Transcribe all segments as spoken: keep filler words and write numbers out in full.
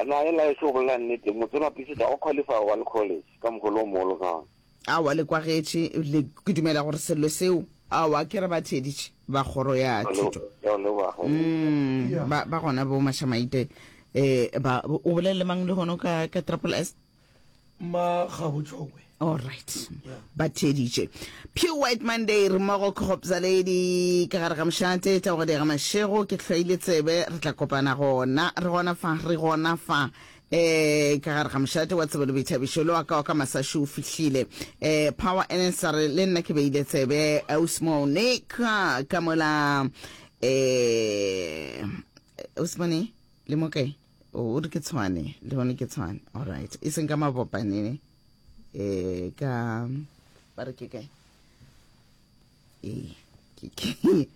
na e la e tlo bolela nnete motse wa Pisita o qualify wa le college ka mogolo o mogolo ka gona. Aowa le kwagetše le ke dumela gore sello seo aowa ke re ba theeditše ba kgoro ya thuto. Ya leboga. Mm, ba ba gona bo Mashamaite eh ba o bolele mang le hono ka ka triple S? Makgabo Tšhokwe. All right. Ba theeditše. Pure White Monday re mmogo ke Gopza Lady ka gare ga mošate taogadi ga mašego ke hlwaile tsebe re tla kopana gona re gona fa re gona fa eh ka gare ga mošate wa tsebo le boithabišo le wa ka wa ka masašu o fihlile eh power ns a re le nna ke beile tsebe ausmone ka ka mola eh ausmone le mo kae o re ke tshwane le gone ke tshwane all right e seng ka mabopanene eh ka ba re ke kae ee ke ke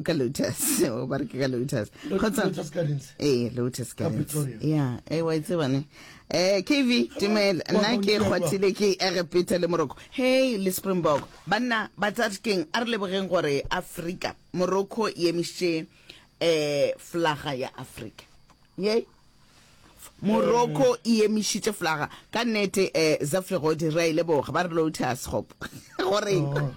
ka lotus o ba re ke ka lotus kgotsa Lotus Gardens. ee lotus Ka gardens Pretoria. ya e wa itse bane eh kv dumela nna ke kgwathile ke egepeta le morocco hey le springbok banna batsadi keng a re lebogeng gore africa morocco e emišitše eh flaga ya africa ye morocco e emišitše flaga ka nnete um zaflegodi re a e leboga ba re lotus gopo goreng Oh.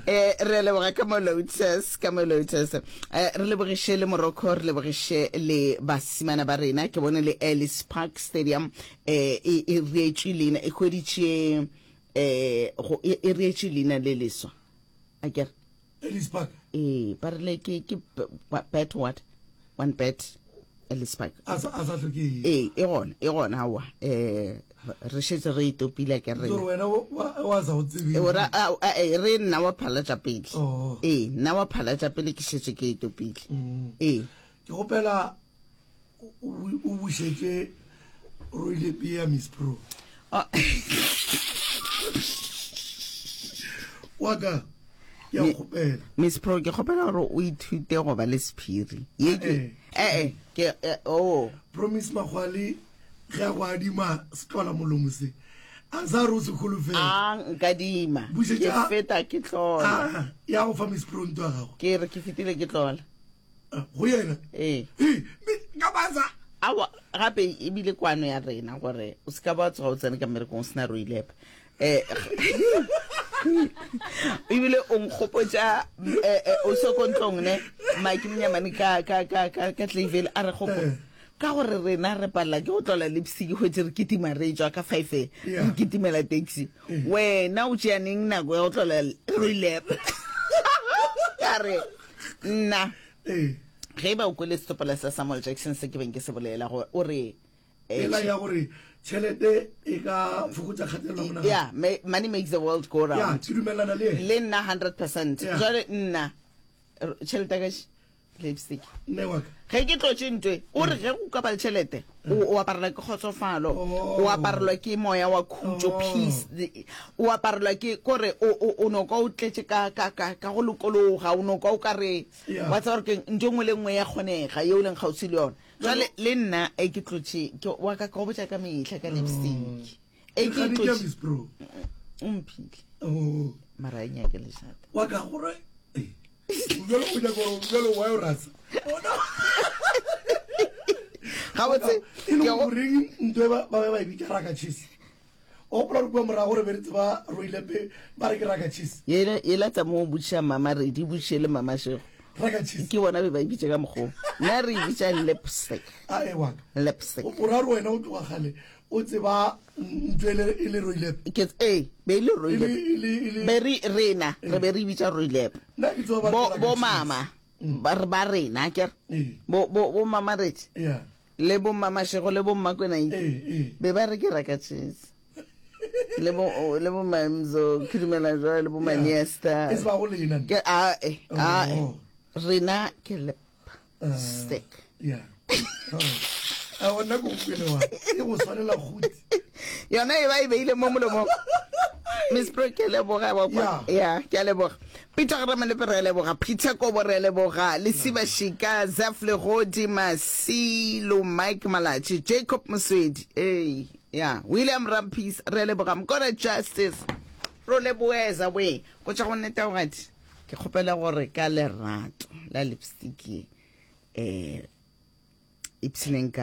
eh re a leboga ka mo lotus ka mo lotus eh re lebogiše le morocco re lebogiše le basimana ba rena ke bone le ellis park stadium eh e e reetšwe leina e hweditše eh go e e reetšwe leina le leswa a kere Ellis Park. ee ba rile ke ke bet what one bet ellis park A sa a sa hloke. ee e gona e gona aowa um re šetse re itopile ke Gore rena wena wa- wa wa sa go tsebe. E, ora- a- a- e, re nna wa phala tša pele Oh. ee nna wa phala tša pele ke šetse ke itopile Mm. ee Ke gopela o o- o bušetše Roile ya Miss Pro. Oh, Wa ka ke a Me- kgopela. miss pro ke kgopela gore o ithute go ba le sephiri ye ke Eh. ee ke eh, oh Promise Magwale ge a go adima setlola molomo se. A sa re o se holofela. a nkadima ke Bušetša- feta ke tlola Ah, ya go fa Miss Pro ntho ya gago. ke re ke fetile ke tlola Ah, Go yena. ee Ee, me- ka basa. awa gape ebile kwano ya rena gore o se ka ba tsoga o tsene ka mmerekong o sena roilepa um ebile o nkgopotša eh, eh, o se ko ntlong ne mike monyamane ka ka ka ka ka Clayville a re gopo Eh. ka gore rena re palela ke go tlola lipstick hwetše re kitima re tswa ka five re Yeah. kitimela taxi wena o tšea neng nako ya go tlola roilepa ka re nna Ee. ge e ba o kwele setopola sa samuel jackson se ke beng ke se bolela gore o re eh, Ela ya gore tšhelete e ka fokotša kgatelelo ya monagano. yeah ma- money makes the world go Ya, round ke dumelana le yena. le nna hundred percent Yeah. jale nna r- tšhelete ya ka še, lipstick Nne wa ka. ge ke tlotše ntwe o re ge go ka ba le tšhelete o o aparelwa ke kgotsofalo Oh. o aparelwa ke moya wa khutšo Oh. peace the- o aparelwa ke kore o o- o no kwa o tletše ka ka ka ka go lokologa o no kwa o ka re Yeah. wa tseba gore keng ntho e nngwe le nngwe ya kgonega yeo leng kgauswi le yona jale le nna e ke tlotše ke wa ka ka go botša ka mehla ka lipstick e ke Kgane ke ya tlotše Miss Pro. o mphile Oh. mara e nyake lešata Wa ka gore eh, bjalo o nyaka gore bjalo wa o rasa. Bona. gabotse E le ke go- goreng ntho e ba ba be ba e bitša raka cheese. O gopola gore kua morago re be re tseba roilepe ba re ke raka cheese. yela yela tsa mo o botšiša mama redi botšiše le mama šego Raka cheese. ke bona be ba e bitša ka mokgwa nna re e bitša lipstick A e wa ka. lipstick O ra gore wena o tloga kgale o tseba ntho e le e le roilepe. ke ee be e le E le roilep e le e le be re rena re be re e bitša roilep nna ke tseba ba re bo ke raka bo cheese. mama ba re ba rena ke re Ee. bo bo bo mama redi Yeah. le bo mama šego le bo mmakwena Ee, ee. be ba re ke raka cheese le bo o- le bo mamzo ke dumela jwale le bo maniesta E se ba go lena. ke a e a e Oh. rena ke lip Ah. stick Yeah. Oh. A bona ko kwele wa. E go swanela gotsi. yona e ba e beile mo molomong miss pro ke a leboga wa kwa ya ke a leboga peter garamelepe re a leboga peter kobo re a leboga lesiba shika zaf legodi masilo mike malatši jacob moswedi ee ya william rampis re a leboga mokona justice ro leboeza we go tša go nnete gadi ke kgopela gore ka lerato la lipstick ye um ipshineng ka